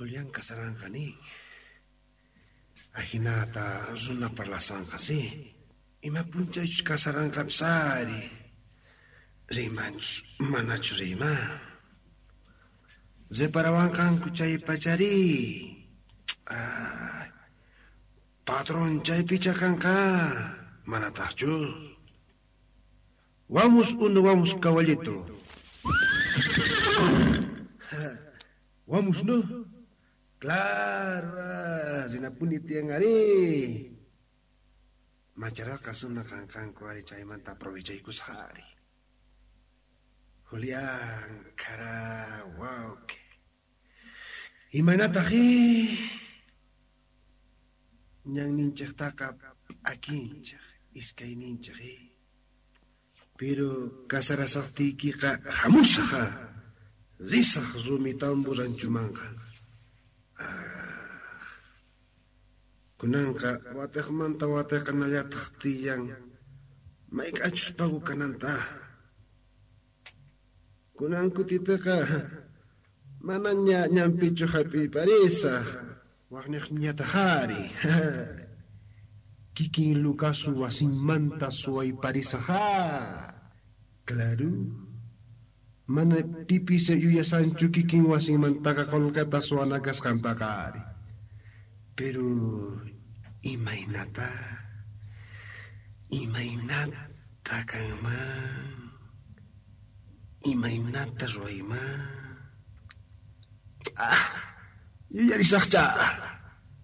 Julián kasaranqa nin. Ajinata runa parlasanqa, sí. Ima p'unchaychus kasaranqapis ari. Riymanchus manachu riyman. Reparawanqanku chay pacharí. Ay, patron chaypicha kanqa, manatajchu. Vamos uno, vamos caballito. Vamos, ¿no? Claro, rinapuni tiyan ari. Macharasqa runa kanqanku ari chaymanta aprovechaykusaj ari. Julián, kara, wawqe. Imaynataj ñanninchejtaqa p'akinchej, iskayninchej Pero kasarasajtiykiqa jamusaj, risaj Rumitambo ranchumanqa. Kunanqa watejmanta wateqanallataj tiyan mayk'achus pago kananta. Kunan kutipeqa manaña ñanpichu jap'iyparisaj, wajnejñataj ari. Kikin Lucasu wasinmanta suwayparisaj. Claro. Mana pipis yuyasanchu kikin wasinmantaqa qolqeta suwana kasqantaqa ari. Pero imaynata? Imaynata kanman? Imaynata ruwayman? Ah, yuyarisajcha.